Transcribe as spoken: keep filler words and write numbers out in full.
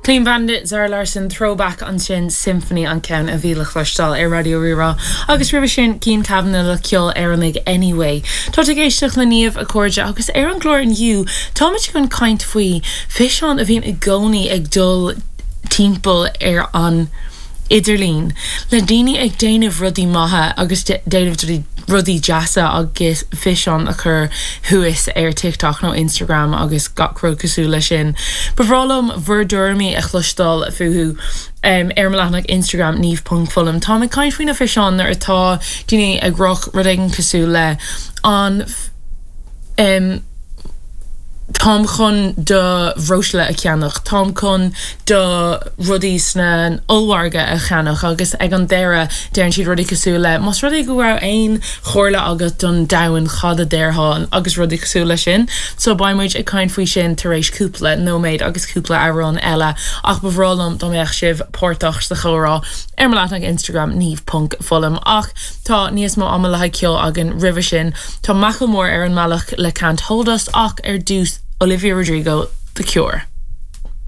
Clean Bandit Zara Larsson throwback ansin Symphony an ceann a bhí le cloisteáil ar Raidió Rí-Rá agus roimhe sin Cian Kavanagh le ceol Éireannach anyway. Tá ag éisteacht le Niamh a chairde agus ar an gclár inniu táimid chun caint faoi físeán a bhíonn i gcónaí ag dul timpeall ar an idirlíon le daoine ag déanamh rudaí maithe agus déanamh rudaí deasa agus físeán a chur suas ar TikTok nó Instagram agus gach rud cosúil le sin. Ba bhreá liom bhur dtuairimí a chloisteáil fúthu um, ar leathanach Instagram niamh.fullam. Tá mé caint faoi na físeáin nuair atá daoine ag rá rud éigin cosúil le an um, Táim chun do bhreosla a cheannach, Táim chun do rudaí san ollmhargadh a cheannach agus ag an deireadh deireann siad rudaí cosúil le Más rud é go raibh aon chomhairle agat don domhan cad a déarfá agus rudaí cosúil le sin, so beimid ag caint faoi sin tar éis cúpla nóiméad agus cúpla amhrán eile ach ba bhreá liom dá mbeadh sibh páirteach sa chomhrá ar mo leathanach Instagram niamh.fullam ach tá níos mó ama le ceol againn roimhe sin Tá Macklemore ar an mbealach le Can't Hold Us ach ar dtús Olivia Rodrigo The Cure.